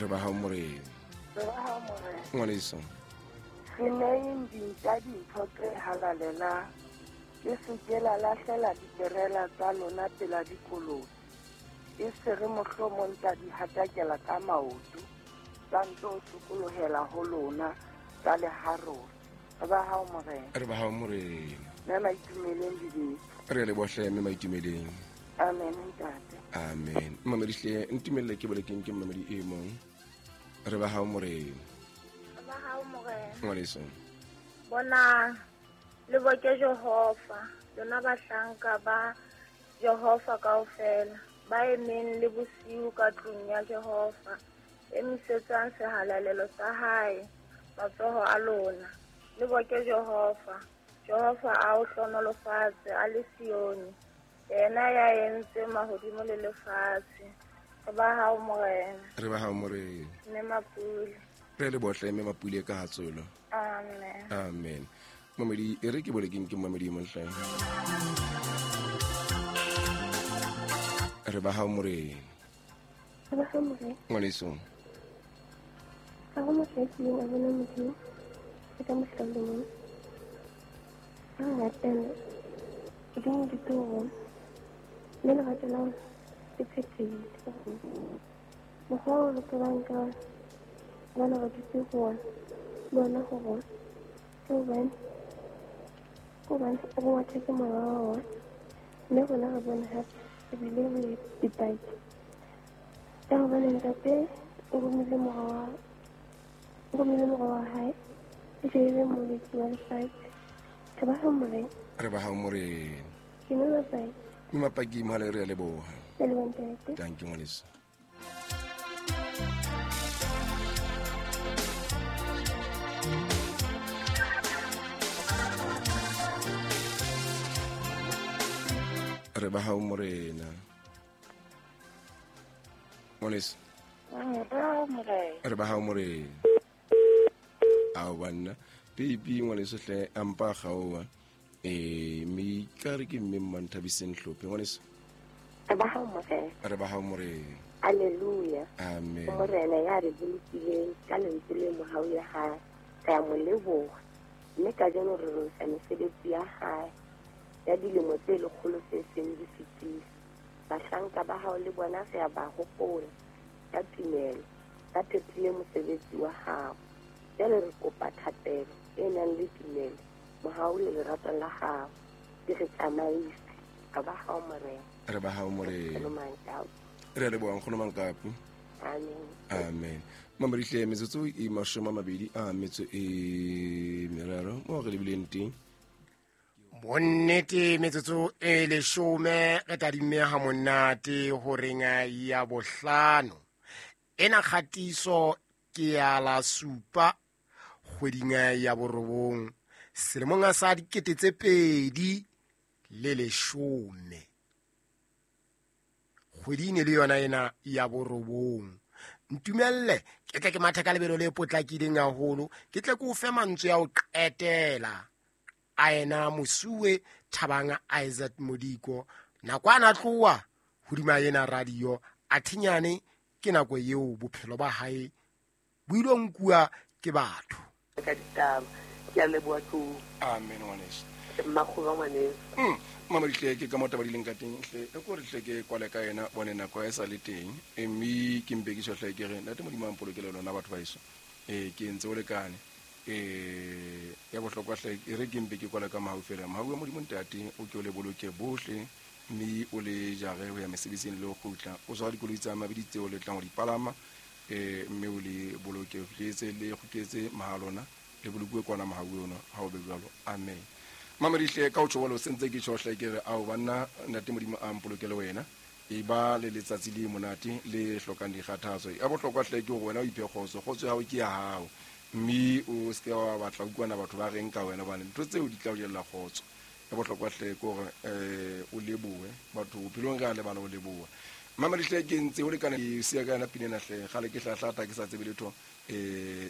Re ba hao morena. Re ba hao morena. Ngwaneso. Se neyeng dintja dintho tse halalelang, le se ke la lahlela diperela tsa lona pela dikolobe, e se re mohlomong tsa di hatakela ka maoto, tsa nto sokolohela ho lona, tsa le harola. Re ba hao morena. Re ba hao morena. Mme Maitumeleng dibetsa. Re le bohle mme Maitumeleng. Amen ntate. Amen. Mamedi hle ntumelle ke bolekeng ke mamedi e mong. Re ba hao morena. Re ba hao morena. Ngwaneso. Bonang le boke Jehova, lona bahlanka ba Jehova kaofela, ba emeng le bosiu ka tlung ya Jehova, emisetsang sehalalelo sa hae matsoho a lona. Le boke Jehova. Jehova a o hlonolofatse a le Sione, yena ya entseng mahodimo le lefatshe. Re ba hao morena. Re ba hao morena. Mme Mapule. Re le bohle mme Mapule ka hatsolo. Amen. Amen. Mamedi e re ke bolekeng ke mamedi e montle. Re ba hao morena. Re ba hao morena. Ngwaneso. Ha ho motho ya kileng a bona Modimo le ka mohla o le mong. Ha re rapela, Modimo o dutse ho rona, mme lerato la rona le phethehile ho rona. Mokgwa oo re tsebang ka ona hobane re dutse ho ona, le ona ho rona, ke hobane ke hobane o re ngwathetse moya wa ona, mme rona re bone hape ebile re dipaki. Ka hobane Ntate o romile mora wa o romile mora wa hae e tle e be molwetsi wa lefatshe. Re ba hao morena. Re ba hao morena. Ke mme Mapaki. Mme Mapaki mohale re a leboha. Ke leboha ntate. Thank you ngwaneso. Re ba hao morena. Ngwaneso. Re ba hao morena. Ao banna. Baby ngwaneso hle a mpa kgaoha. Mme ka re ke mme Mmanthabiseng Hlophe ngwaneso. Re ba hao morena. Re ba hao morena. Hallelujah. Amen. Morena ya re bolokileng ka lentswe le mohau ya hae. Re a mo leboha. Mme kajeno re rorisa mesebetsi ya hae ya dilemo tse lekgolo tse seng di fetile. Bahlanka ba hao le bona re a ba hopola ka tumelo, ba phethile mosebetsi wa hao. Jwale re kopa thapelo e nang le tumelo, mohau le lerato la hao di re tsamaise. Re ba hao morena. Re ba hao morena. Nkgono Mankapu. Re a leboha nkgono Mankapu. Amen. Amen. Mamadihle metsotso e 20 a metso e meraro mo re lebileng teng. Bonnete metsotso e 10 re tadimme ha monate horeng ya bohlano. Ena kgatiso ke ya la supa kgweding ya borobong selemong sa 2010. Kgwedi ne le yona ena ya borobong. Ntumelle ke tle ke mathe ka lebelo le potlakileng haholo, ke tle ke o fe mantswe a ho qetela a ena mosuwe Thabang Isaac Modiko. Nako ana tloha hodima ena radio a thinyane ke nako eo bophelo ba hae bo ilo nkuwa ke batho. Ka ditaba ke a leboha tlou. Amen ngwaneso. Mmakgoba ngwaneso. Mamadihle ke ka mo taba di leng ka teng hle e ko re hle ke kwale ka yena bone nako e sa le teng mme ke mpe ke tjho hle ke re ntate Modimo a mpolokele lona batho ba heso. Ke ntse o lekane. Ya bohlokwa hle e re ke mpe ke kwale ka mahau fela. Mahau a Modimo ntate o ke o le boloke bohle mme o le jare ho ya mesebetsing le ho kgutla. O tshwara dikoloi tsa mabidi tseo le tlang ho di palama, mme o le boloke o fihletse le kgutletse mahalona le bolokuwe kwana mahau ono ha o be jwalo. Amen. Mamadihle ka o tjho jwalo sentse ke tjho hle ke re ao banna ntate Modimo a mpolokele wena. E ba le letsatsi le monate le hlokang dikgathatso. Ya bohlokwa hle ke hore wena o iphe kgotso, kgotso ya hao ke ya hao. Mme o se ke wa batla ho utlwana batho ba reng ka wena hobane ntho tseo di tla o jella kgotso. Ya bohlokwa hle ke hore o lebohe batho bophelong re a lebala ho leboha. Mamadihle ke ntse o lekane ke siya ka yona pina ena hle kgale ke hlahlata ke sa tsebe letho,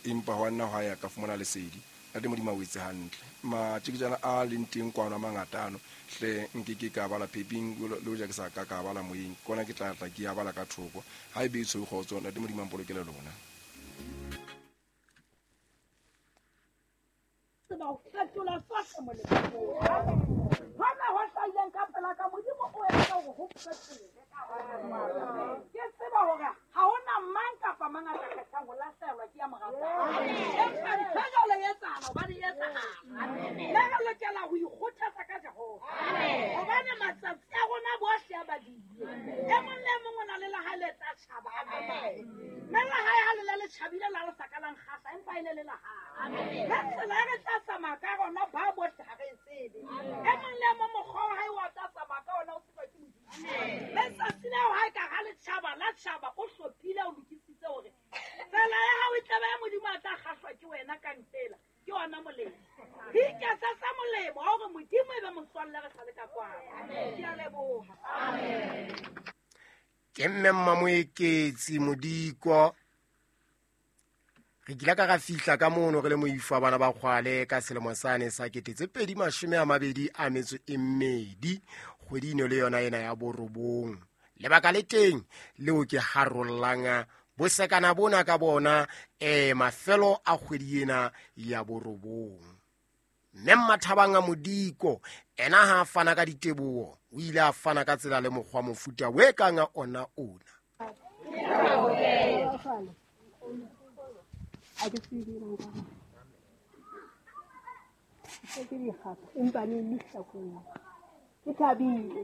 empa hwa nna hwa ya ka fumana lesedi. Ntate Modimo a o etse hantle. Matjeketjana a leng teng kwano a mangata ano hle nke ke ka bala peping le hoja ke sa ka ka bala moyeng, kona ke tla tla ke ya bala ka thoko. Ha e be e tshweu kgotso, Ntate Modimo a mpolokele lona. Tseba ho fetola sohle molemong. Hona ho hlahileng ka pela ka Modimo o entse hore ho fetole. Ke tseba hore ha hona mang kapa mang a ka kgethang ho lahlehelwa ke ya mo ratang. Empa ntho e jwalo e etsahala hobane e etsahala. Mme re lokela ho ikgothatsa ka Jehova. Hobane matsatsi a rona bohle a badilwe. E mong le e mong o na le la hae le tla tjhaba a tsamaye. Mme la hae ha le le le tjhabile la le sa ka la nkgahla, empa e ne le la hae. Ka tsela e re tla tsamaya ka rona ba bohle ha re e tsebe. E mong le e mong mokgwa wa hae wa tla tsamaya ka ona o tsejwa ke Modimo. Letsatsi leo ha e ka ha le tjhaba la tjhaba, o hlophile, o lokisitse hore tsela ya hao e tla ba ya Modimo a tla kgahlwa ke wena ka ntela. Ke ona molemo. Re iketsetsa molemo wa hore Modimo e be motswalle re sa le ka kwano. Ke a leboha. Ke mme Mmamoeketsi Modiko. Re kile ka ra fihla ka mono re le moifo wa bana ba kgwale ka selemo sane sa 2022, kgwedi eno le yona ena ya borobong. Lebaka le teng leo ke harollang bosekana bona ka bona mafelo a kgwedi ena ya borobong. Mme Mmathabang a Modiko ena ha a fana ka diteboho, o ile a fana ka tsela le mokgwa mofuta o e kang a ona ona. A ke tsebe nka. Ke dikgapha, empa ne le hlakong. Ke thabile.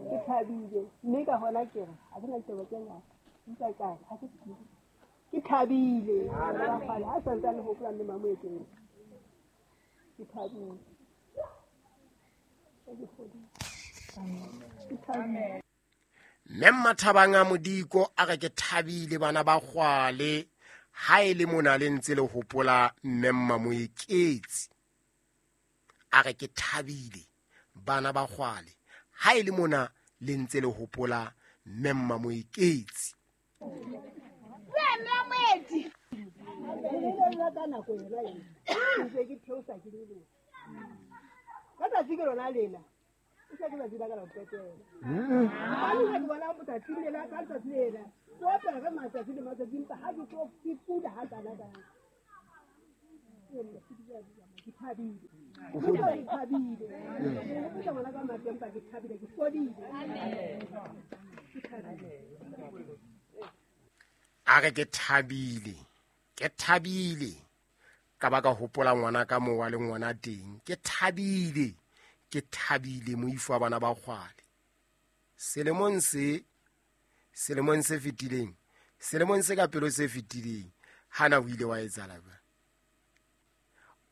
Ke thabile. Mme ka hona ke re, ha ke na ditaba tse ngata. Empa ka re, ha ke tsebe. Ke thabile. Ha santsane ho hopola mme Mamoekeng. Ke thabile. Ke fodile. Ke thabile. Mme Mmathabang a Modiko a re ke thabile bana ba kgwale, ha e le mona le ntse le hopola mme Mmamoeketsi. A re ke thabile bana ba kgwale, ha e le mona le ntse le hopola mme Mmamoeketsi. Ka tsatsi ke lona lena. O sa ke tsatsi la ka la ho qetela. Hobane ha ke bona letsatsi lena, ka letsatsi lena, ke opela ka matsatsi le matsatsi, empa ha ke tlo ke pula ha kana kana. Ke thabile. Ke thabile. Ke bona ka matla, empa ke thabile, ke fodile. Ke thabile. A re ke thabile, ke thabile. Ka ba ka hopola ngwana ka moo wa le ngwana teng. Ke thabile, ke thabile moifo wa bana ba kgwale. Selemong se, selemong se fetileng, selemong se ka pelo se fetileng, hana o ile wa etsahala jwang?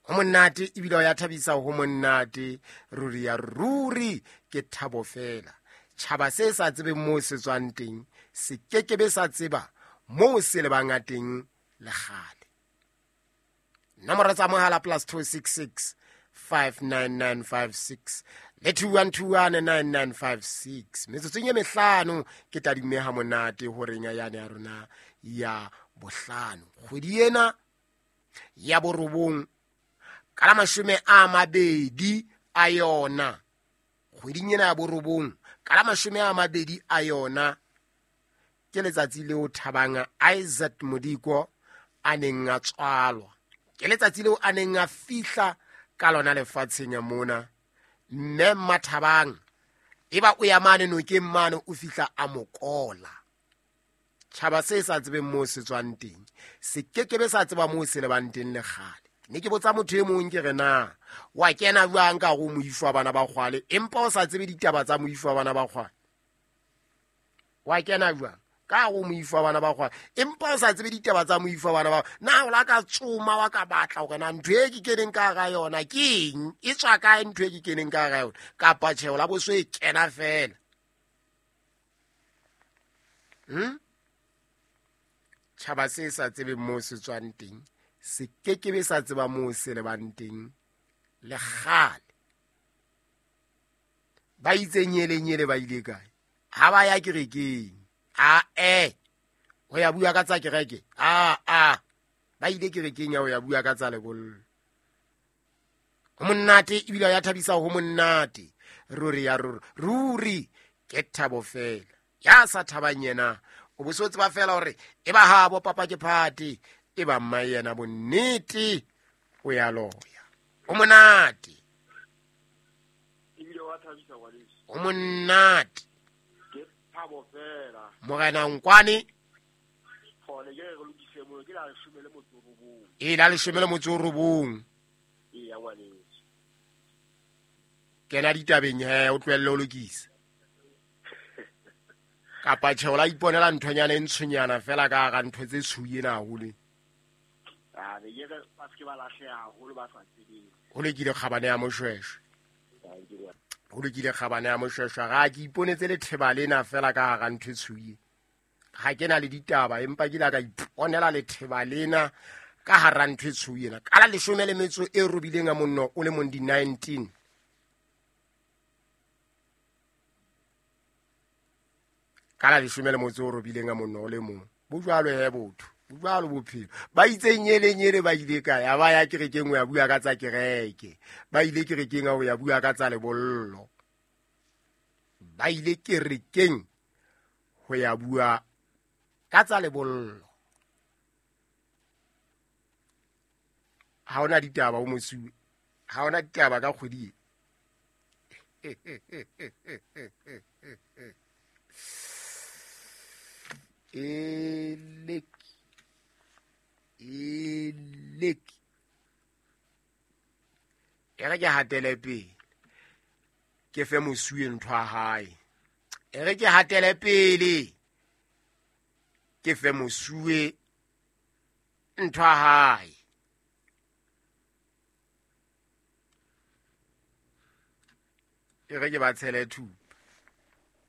Ho monate ebile o ya thabisa, ho monate ruri ya ruri, ke thabo fela. Tjhaba se sa tsebeng moo se tswang teng, se kekebe sa tseba moo se lebang teng le kgale. Nomoro tsa mohala +266 59956 le 21219956. Metsotsong e mehlano ke tadimme ha monate horeng ya yane ya rona ya bohlano. Kgwedi ena ya borobong ka la 20 a yona. Kgweding ena ya borobong ka la 20 a yona ke letsatsi leo Thabang Isaac Modiko a neng a tswalwa. Ke letsatsi leo a neng a fihla ka lona lefatsheng ya mona. Mme Mmathabang eba o ya mane nokeng mane, o fihla a mokola. Tjhaba se sa tsebeng moo se tswang teng, se kekebe sa tseba moo se lebang teng le kgale. Ne ke botsa motho e mong ke re na wa kena jwang ka hare ho moifo wa bana ba kgwale, empa o sa tsebe ditaba tsa moifo wa bana ba kgwale. Wa kena jwang ka hare ho moifo wa bana ba kgwale, empa o sa tsebe ditaba tsa moifo wa bana ba? Na o la ka tsoma wa ka batla hore na ntho e ke keneng ka hara yona ke eng, e tswa kae ntho e ke keneng ka hara yona, kapa tjhe o la bo so e kena fela. Tjhaba se sa tsebeng moo se tswang teng, se kekebe sa tseba moo se lebang teng le kgale. Ba itse nyele nyele ba ile kae? Ha ba ya kerekeng. A ho ya bua ka tsa kereke. A ba ile kerekeng ya ho ya bua ka tsa lebollo. Ho monate ebile ya thabisa, ho monate ruri ya ruri ruri, ke thabo fela. Ya sa thabang yena o bo so tseba fela hore e ba habo papa ke phate, e ba mma yena bonnete o ya loya. O monate ebile wa thabisa ngwaneso. O monate ke thabo fela. Morena Nkwane gone ke re lokise mo ke la 19. E la 19. E ya ngwaneso. Kena ditabeng he, o tlohelle ho lokisa. Kapa tjhe o la iponela nthonyana e ntshonyana fela ka hara ntho tse tshweu ena haholo. A be ke re ba se ke ba lahleha haholo ba sa tsebeng. Ho lokile kgabane ya Moshweshwe. Ho lokile kgabane ya Moshweshwe. Ga ke iponetse letheba lena fela ka hara ntho e tshweu. Ga ke na le ditaba empa ke ile ka iponela letheba lena ka hara ntho e tshweu ena. Ka la 18 a monno o le mong di 19. Ka la 18 a monno o le mong. Bo jwalo he botho, bo jwalo bophelo. Ba itse nyele nyele ba ile kae? A ba ya kerekeng ho ya bua ka tsa kereke. Ba ile kerekeng ho ya bua ka tsa lebollo. Ba ile kerekeng ho ya bua ka tsa lebollo. Ha hona ditaba o mosuwe. Ha hona ditaba ka kgwedi e. Eleki e re ke hatele pele ke fe mosuwe ntho ya hae. E re ke hatele pele ke fe mosuwe ntho ya hae. E re ke ba tshele thupa.